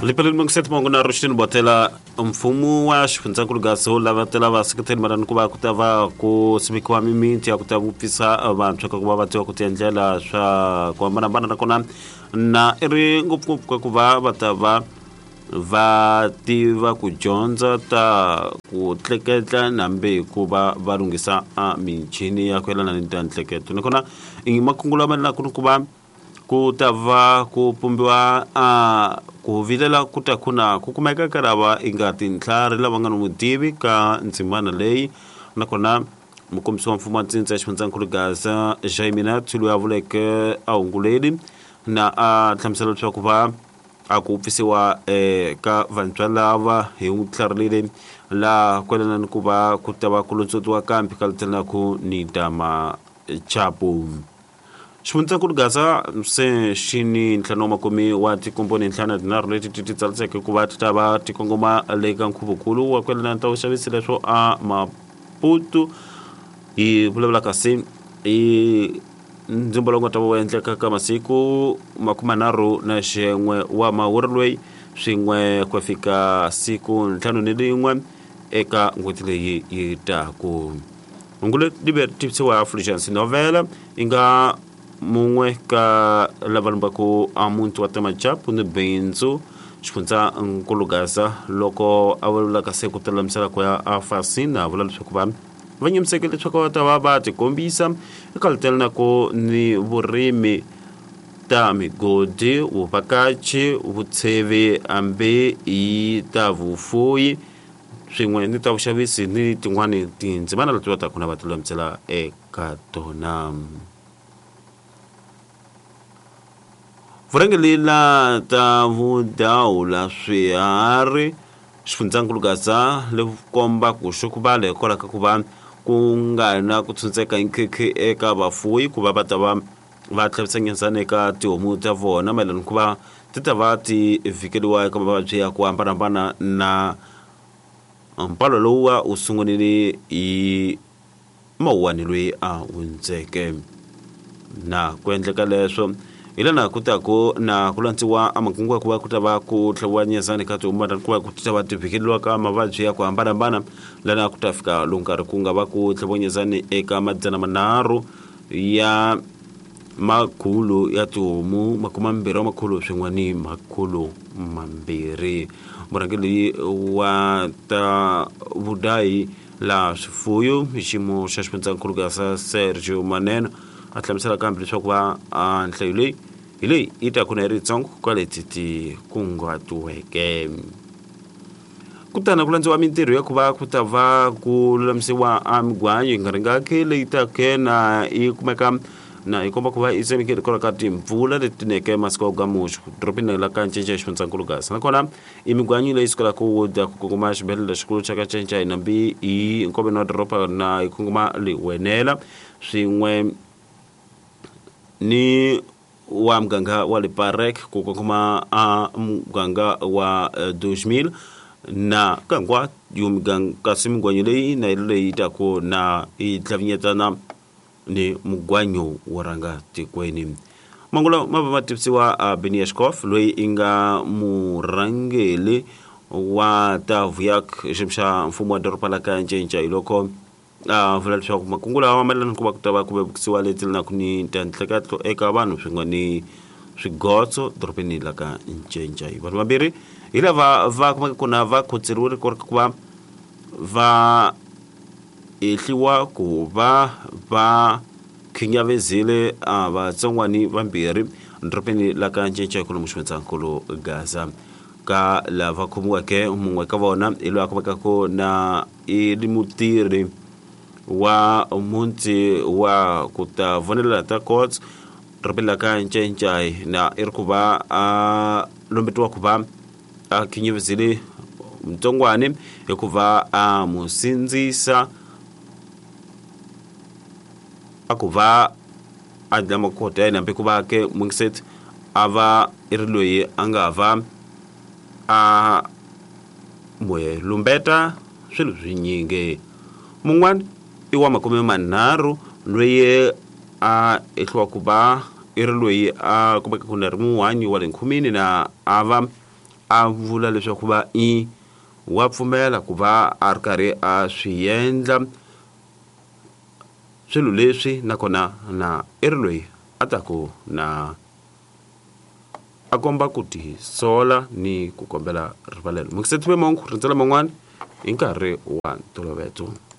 Lipeleni Mungiseti Mongo na Rushtin Botela mfumo wa xifundzankulu Gaza wu lavatela vaseketeri mayelana ku va ku ta va ku simekiwa mimiti ya ku ta vupfisa vantshwa ka ku va va tiva ku tiendlela swa ku hambanahambana nakona na i ri ngopfungopfu ka ku va va ta va va tiva ku dyondza ta ku tleketla nambe ku va va lunghisa a michini ya ku yelana ni ta ntleketo nakona i makungu lama mayelana ni ku va ku ta va ku pumbiwa a ku vilela ku ta ku na ku kumeka ka lava i nga tintlhari lava nga ni vutivi ka ndzimana leyi nakona mukombisi wa mfumo wa ntsindza ya xifundzankulu Gaza Jaimina loyi a vuleke a hunguleli na a hlamusela leswaku va a ku pfisiwa ka vantshwa lava hi ntlhari laha kwelana ni ku va ku ta va ku lontswotiwa kambe ka letelaku ni ta machapu. Xifundzankulu Gaza se xi ni ntlhanu wa makume wa tikomponi ntlhanu na tinharhu leti ti ti tsariseke ku va ti ta va ti kongoma le ka nkhuvukulu wa kwelana ta vuxavisi leswo a Maputo hi vulavula kasi i ndzimbo lowu nga ta va wu endleka ka masiku 31 wa mawuri loyi swin'we ku fika siku 51 eka n'hweti leyi yi taku. Hungu leri ri tivisiwa Fulgence Novela yi nga mun'we ka lava lumbaku a muti wa Temachapu ni bindzu xifundzankulu Gaza loko a vulavulaka se ku tilulamisela ku ya a Fasina a vula leswaku va va nyimiseke leswaku va ta va va tikombisa eka letela ku ni vurimi ta migodi vuvhakachi vutshevi hambi hi ta vufuyi swin'we ni ta vuxavisi ni tin'wani tindzimana leti va taka na va tilulamisela eka tona. Vurhangeri la ta vudawula swiharhi xifundzankulu Gaza le komba ku xukuvale hikwalaho ka ku va ku nga na ku tshuntseka nkhikhi eka vafuwi ku va va ta va va tlhavisa nyenzana eka tihomu ta vona mayelana ku va ti ta va ti vhikeliwa eka mavabyi ya ku hambanahambana na mpalo lowuwa wu sungurile hi Mawuwani loyi a hundzeke. Na ku endleka leswo hi lana ku ta ku na ku landziwa a makungu ya ku va ku ta va ku tlhaviwa nyezani ka tihomu ku va ku ta va ti vhikeliwa ka mavabyi ya ku hambanahambana lana ku ta fika lowu nkarhi ku nga va ku tlhaviwa nyezani eka 300 ya makhulu ya tihomu 20 wa makhulu swin'we ni 200. Murhangeri wa ta vudayi laha swifuyo hi xiyimo xa xifundzankulu Gaza Sergio Maneno a hlamusela kambe leswaku va a nhlayo leyi hi leyi yi ta kuna yi ri yitsongo ka leti ti kunguhatiweke. Kutani ku landziwa mintirho ya ku va ku ta va ku lulamisiwa a migwanyo yi nga ringaki leyi take na yi kumeka na yi komba ku va yi tsemekile hikwalaho ka timpfula leti neke masiku ya gamuxu dorobeni la ka Ncinca xifundzankulu Gaza nakona i migwanyo leyi sukelaka ku dya ku kongoma xibedhlele lexikulu xa ka Ncinca hi nambi hi nkoveni wa doroba na yi kongoma Liwenela swin'we ni wa muganga wa Leparek ku kongoma a muganga wa 2000 na kangwa yo miganga kasi migwanyo leyi na leyi taku na yi tlhavinyetana ni mugwanyo wo rhanga tikweni. Mangula ma va ma tivisiwa a Beniashkov loyi i nga murhangeri wa ta Vuyak xiyimo xa mfumo wa doroba la ka Ncinca hi loko a vula leswaku makungu lawa mayelana ku va ku ta va ku vevukisiwa leti lelanaka ni ta ntleketlo eka vanhu swin'we ni swigotso dorobeni la ka Ncinca. Hi vanhu vambirhi hi lava va kumeka kona va khotseriwile ku ri ku va va ehliwa ku va va khinyavizile a vatsongwani vambirhi dorobeni la ka Ncinca hi kwalomu xifundzankulu Gaza. Ka lava khomiweke mun'we ka vona hi loyi a kumekaka na i ri mutirhi wa muti wa ku ta vonelela ta courts dorobeni la ka Ncinca na i ri ku va a lombetiwa ku va a khinyavizile mutsongwani hikuva a mu sindzisa a ku va a dlaya makhoto ya yena hambi ku va ke Mungiseti a va i ri loyi a nga va a n'wi lumbeta swilo swinyingi. Mun'wana i wa 30 loyi a ehliwa ku va i ri loyi a kumeka ku na ri muhanyi wa le nkhumini na a va a vula leswaku va i wa pfumela ku va a ri karhi a swi endla swilo leswi nakona na i ri loyi a taku na a komba ku tisola ni ku kombela rivalelo. Mukiseti Mongo rindzela man'wani hi nkarhi wa ntoloveto.